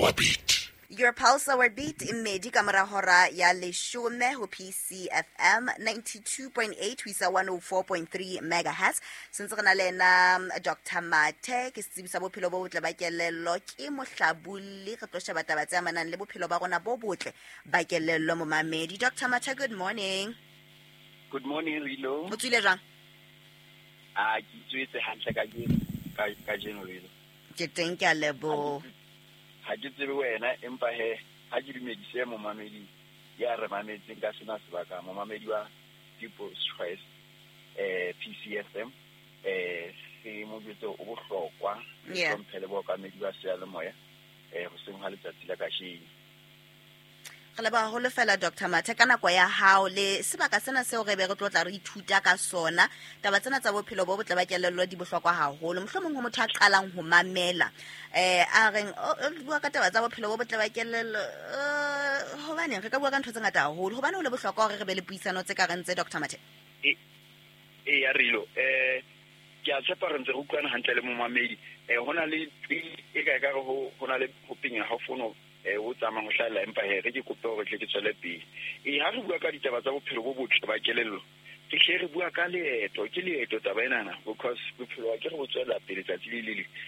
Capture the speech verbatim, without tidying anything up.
Our Beat. Your Pulse Our Beat, e mmedi ka mora hora ya leshome ho P C F M ninety-two point eight ho isa one oh four point three megahertz. Sentse re na le ena um, Doctor Mathe, ke setsebi sa bophelo bo botle ba kelello, ke mohlabolli. Re tlo sheba taba tse amanang le bophelo ba rona bo botle ba kelello. Momamedi, Doctor Mathe, good morning. Good morning, Rilo. O tswile jwang? A ke tswetse hantle kajeno, ka kajeno, Rilo. Ke teng, ke a leboha. Ha ke tsebe wena, empa he ha ke dumedise momamedi ya re mametseng ka sena sebaka, momamedi wa People's Choice, eh P C F M, eh se mo jwetse o bohlokwa. Yeah. Hlomphe le bookamedi ba seyalemoya eh hoseng ha letsatsi la kajeno. Re leboha haholo fela, Doctor Mathe, ka nako ya hao le sebaka sena seo re be re tlo tla re ithuta ka sona. Taba tsena tsa bophelo bo botle ba kelello di bohlokwa haholo. Mohlomong ho motho a qalang ho mamela, eh a reng, "Oh, o bua ka taba tsa bophelo bo botle ba kelello, eh, hobaneng re ka bua ka ntho tse ngata haholo? Hobane ho le bohlokwa hore re be le puisano tse ka reng tse, Doctor Mathe?" E e ya Rilo, eh ke a tshepa re ntse re utlwana hantle le momamedi. eh ho na le e ka e ka re ho ho na le ho penya ha fono eh o tsamayang ho hlahella, empa he re ke kope hore tle ke tswele pele. E ha re bua ka ditaba tsa bophelo bo botle ba kelello, ke hle re bua ka leeto, ke leeto taba enana, because bophelo ba ke re bo tswela pele tsatsi le le leng.